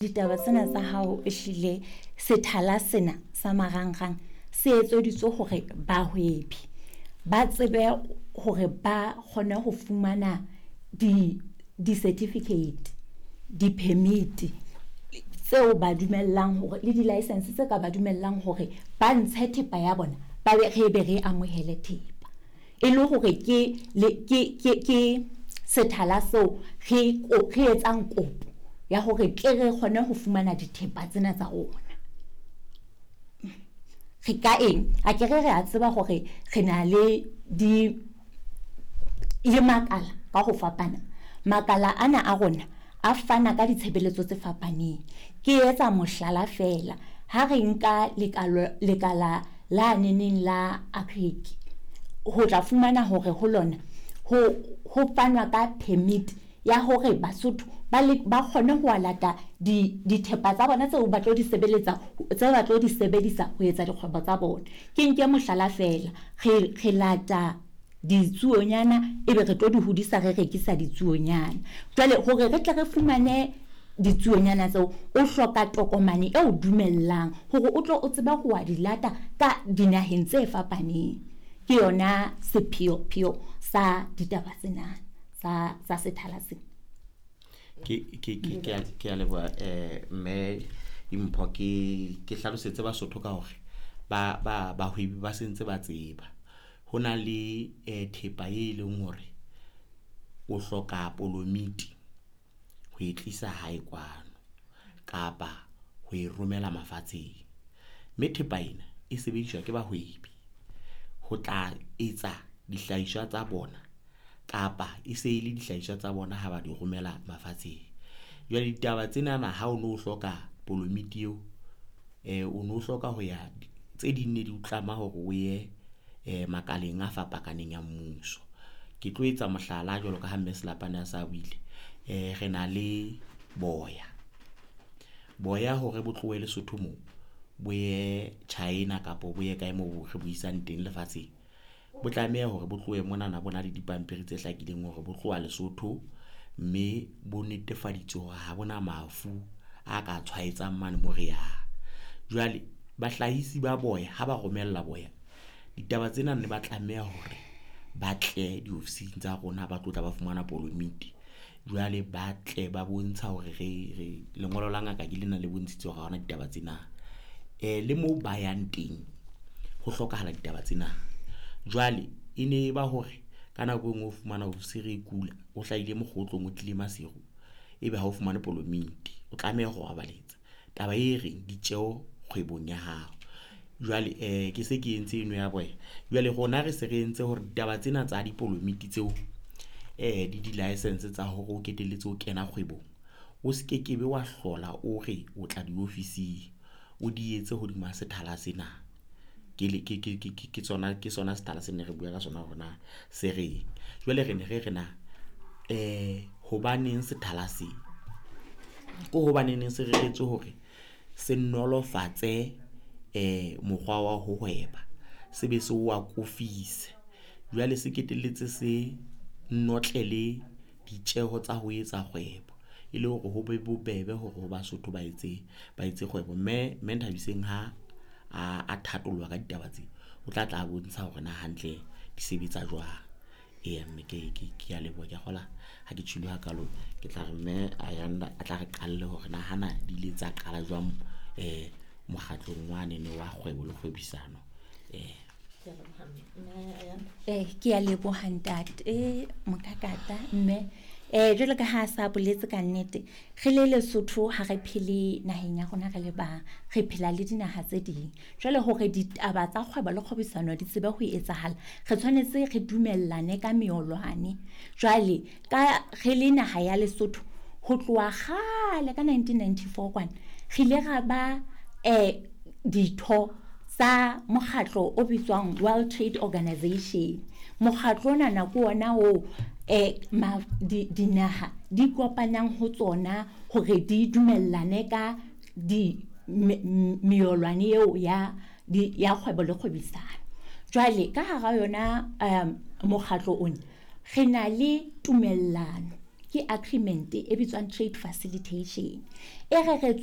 Ditaba tsena tsa hao ehlile sethala sena sa marangrang se etseditswe hore bahwebi ba tsebe hore ba kgone ho fumana di di-certificate, di-permit tseo ba dumellang hore le di-license tse ka ba dumellang hore ba ntshe thepa ya bona, ba be re be re amohele thepa. E le hore ke le ke ke ke sethala seo re re etsang kopo ya hore tle re kgone ho fumana dithepa tsena tsa rona. Re ka eng? Akere re a tseba hore re na le di le makala ka ho fapana. Makala ana a rona a fana ka ditshebeletso tse fapaneng. Ke etsa mohlala feela, ha re nka lekala la neneng la Agric, ho tla fumana hore ho lona ho fanwa ka permit ya hore Basotho ba le ba kgone ho lata di dithepa tsa bona tseo ba tlo di sebeletsa, tse ba tlo di sebedisa ho etsa dikgwebo tsa bona. Ke nke mohlala feela, re lata ditsuonyana ebe re tlo di hodisa, re rekisa ditsuonyana. Jwale hore re tle re fumane ditsuonyana tseo, o hloka tokomane e o dumellang hore o tlo o tsebe ho wa di lata ka dinaheng tse fapaneng. Ke yona sepheo-pheo sa ditaba tsena tsa sethala sena. Ke a leboha mme Dimpho. Ke hlalosetse Basotho ka hore ba ba bahwebi ba sentse ba tseba ho na le thepa e leng hore o hloka polomiti ho e tlisa hae kwano kapa ho e romela mafatsheng. Mme thepa ena e sebediswa ke bahwebi ho tla etsa dihlahiswa tsa bona kapa e se e le dihlahiswa tsa bona ha ba di romela mafatsheng. Jwale ditaba tsenana ha o no hloka polomiti eo, o no hloka ho ya tse ding ne di o tlama hore o ye makaleng a fapakaneng a mmuso. Ke tlo etsa mohlala jwalo ka ha Mme Selapane a sa buile, re na le boya. Boya hore bo tlohe Lesotho mo bo ye China kapa bo ye kae moo re bo isang teng lefatsheng, bo tlameha hore bo tlohe monana bo na le dipampiri tse hlakileng hore bo tloha Lesotho, mme bo netefaditswe hore ha bona mafu a ka tshwaetsang mane mo re yang. Jwale bahlahisi ba boya ha ba romella boya, ditaba tsena ne ba tlameha hore ba tle diofising tsa rona ba tlo tla ba fumana polomiti. Jwale ba tle ba bontsha hore re lengolo la ngaka ke lena le bontshitse hore ha hona ditaba tsena. Le moo ba yang teng ho hlokahala ditaba tsena. Jwale e ne e ba hore ka nako e nngwe o fumana ofisiri e kula, o hlahile mokgotlong, o tlile Maseru, ebe ha o fumane polomiti, o tlameha ho robaletsa. Taba e reng ditjeho kgwebong ya hao. Jwale ke se ke entse eno ya boya. Jwale rona re se re entse hore ditaba tsena tsa dipolomiti tseo le di-licence tsa hore o ketelletse o kena kgwebong, o skekebe wa hlola o re o tla diofising, o di etse hodima sethala sena. Ke le ke ke ke ke tsona ke sona sethala se ne re bua ka sona hore na se reng. Jwale re ne re re na hobaneng sethala se? Ko hobaneneng se reretswe hore se nolofatse mokgwa wa ho hweba, se be se o akofise. Jwale se ketelletse se notlele ditjeho tsa ho etsa kgwebo, e le hore ho be bobebe hore ho Basotho ba etse kgwebo. Mme Nthabiseng ha a thatollwa ka ditaba tse, o tla tla bontsha hore na hantle di sebetsa jwang. Eya mme ke a leboha, ke a kgola ha ke tjholo hakalo. Ke tla re Mme Ayanda a tla re qalle hore na hana di ile tsa qala jwang mokgatlong wanene wa kgwebo le kgwebisano. Ke a leboha ntate Mokakata mme. Jwalo ka ha sa boletse ka nnete, re le Lesotho ha re phele naheng ya rona re le bang, re phela le dinaha tse ding. Jwale hore ditaba tsa kgwebo le kgwebisano di tsebe ho etsahala, re tshwanetse re dumellane ka meolwane. Jwale ka re le naha ya Lesotho ho tloha kgale ka 1994 kwana, re ile ra ba ditho tsa mokgatlo o bitswang World Trade Organization. Mokgatlo ona ke ona oo dinaha di kopanang ho tsona hore di dumellane ka di meolwane eo ya ya kgwebo le kgwebisano. Jwale ka hara yona mokgatlo ona re na le tumellano Ke agreement e bitswang trade facilitation e reretsweng.